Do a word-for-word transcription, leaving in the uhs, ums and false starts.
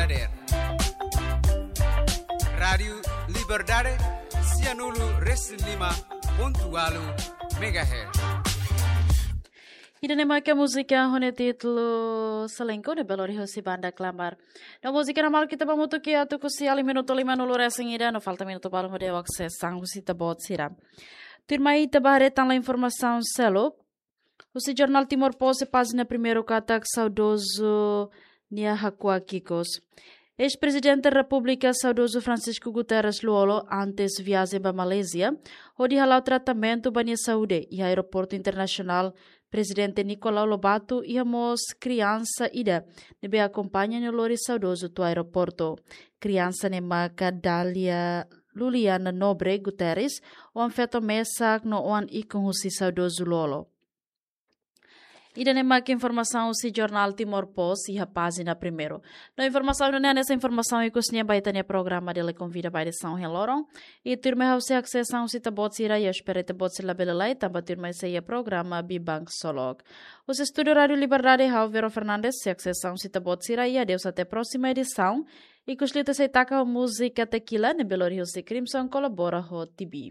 Dader. Rádiu Liberdade, sianulu resin lima pontu walu megahertz. Ida-ne'e mak múzika ho nia títulu Selengko ne'ebé lori husi banda Klamar. No múzika ne'e mak ita ba hamutuk iha tuku sia liu minutu lima nulu resin ida, no falta minutu balu hodi asesu husi ita-boot sira. Tuirmai ita ba haree tan informasaun seluk. Husi jornál Timor Post pájina primeiru katak saudozu nia hakuak ikus. Eis-Prezidente Repúblika saudozu Francisco Guterres Lú-Olo antes viajen ba Malázia, hodi hala'o tratamentu ba nia saúde iha Aeroportu Internasionál Prezidente Nicolau Lobato, iha mós kriansa ida ne'ebé akompaña no lori saudozu to'o aeroportu. Kriansa ne'e maka Dália Luliana Nobre Guterres, oan-feto mesak no oan-ikun husi saudozu Lú-Olo. Ida-ne'e mak informasaun husi jornál Timor Post iha pájina primeiru. No informasaun ne'e hanesan informasaun ikus nian ba ita-nia programa Dili Konvida ba edisaun ohin loron. I tuirmai ha'u sei asesu husi ita-boot sira, i espera ita-boot sira labele laiha, tanba tuirmai sei iha programa Biban Ksolok. Husi estúdiu Rádiu Liberdade, ha'u Vero Fernandes sei asesu husi ita-boot sira, i adeus até próxima edisaun. Ikus liu ita sei taka ho múzika Tequila ne'ebé lori husi Crimson kolabora ho T B.